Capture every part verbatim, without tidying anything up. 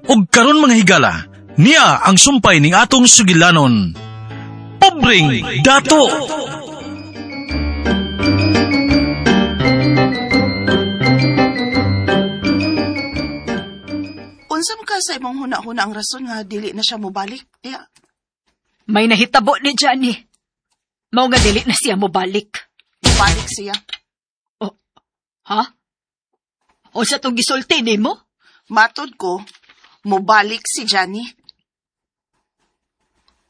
Og karon mga higala, niya ang sumpay ning atong sugilanon. Pobreng Dato! Unsa man ka sa imong huna-huna ang rason nga dili na siya mobalik? Tiya, May nahitabo ni Johnny. Mao nga dili na siya mobalik. mobalik siya. Oh, ha? O sa tong gisulti nimo? Matod ko, mobalik si Johnny.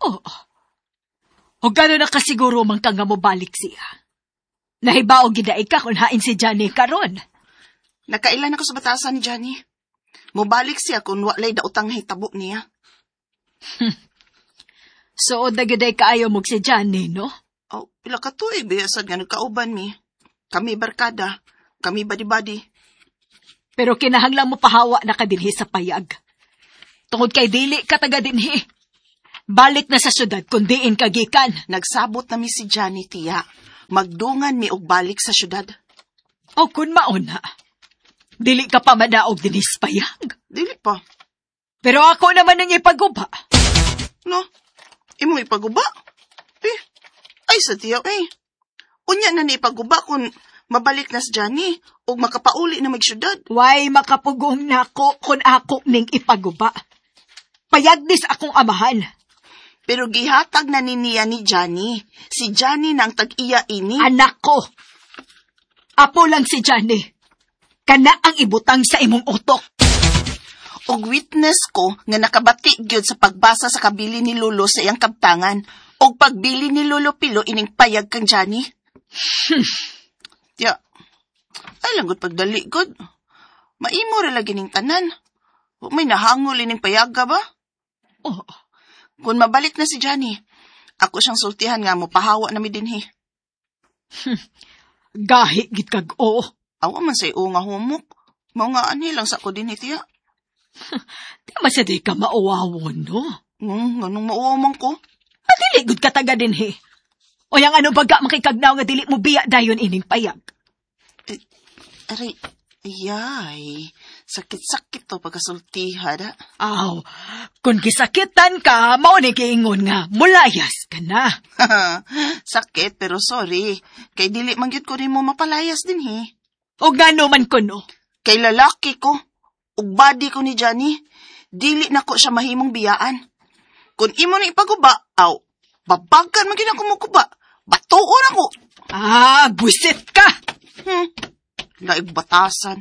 Oo. O gano'n na kasiguro man ka nga mobalik siya. Nahibaog gid ka kung hain si Johnny karon. Nakailan ako sa batasan ni Johnny. Mobalik siya kung walay daotang nahitabo niya. So, dagiday kaayo mo si Johnny, no? Oh, pila ka tuig biyasad nga nagkauban mi. Kami barkada, kami badi-badi. Pero kinahanglan mo pahawa na ka dinhi sa payag. Tungod kay dili ka taga dinhi. Balik na sa syudad kung diin ka gikan. Nagsabot na mi si Johnny tiya. Magdungan mi og balik sa syudad. O kun mauna, dili ka pa madaog dinhi sa payag. Dili pa. Pero ako naman ang ipaguba. No? Imo ipaguba? Eh, ay sa tiya eh. Unya na ni ipaguba kung mabalik na si Johnny ug makapauli na magsyudad. Way makapugong nako kung ako ning ipaguba. Payag ni sa akong amahan. Pero gihatag na ni niya ni Johnny. Si Johnny na ang tag-iya ini. Anak ko. Apo lang si Johnny. Kana ang ibutang sa imong utok. Og witness ko nga nakabati gyud sa pagbasa sa kabili ni Lolo sa iyang kabtangan. Og pagbili ni Lolo Pilo ining payag kang Johnny. Ya. Ay lang gud pagdali gud. Maimo ra lagi ning tanan. Wa may nahangol ining payaga ba? Oh, Kung mabalik na si Johnny, ako siyang sultihan nga mopahawa na mi dinhi. gahi gid kag oo. Awa man say nga humok. Mao nga anhi lang sa ko dinhi tiya. Di man sa di ka mauwawon, no? Hmm, nganong mauwaw man ko? Adili gud ka taga dinhi. O yang ano baga makikagnaw nga dili mo biya dayon ining payag. Aray, ayay. Sakit-sakit to pagkasultiha da. Aw, kung gisakitan ka, mao ni giingon nga mulayas ka na. Sakit pero sorry. Kay dili man gyud ko nimo mapalayas dinhi. O ngano man kuno. Kay lalaki ko, ug body ko ni Johnny, dili na ko siya mahimong biyaan. Kung imo na ipaguba, aw, babagan man gyud ako moguba. Batuon ako. Ah, busit ka. Hmm, laig batasan.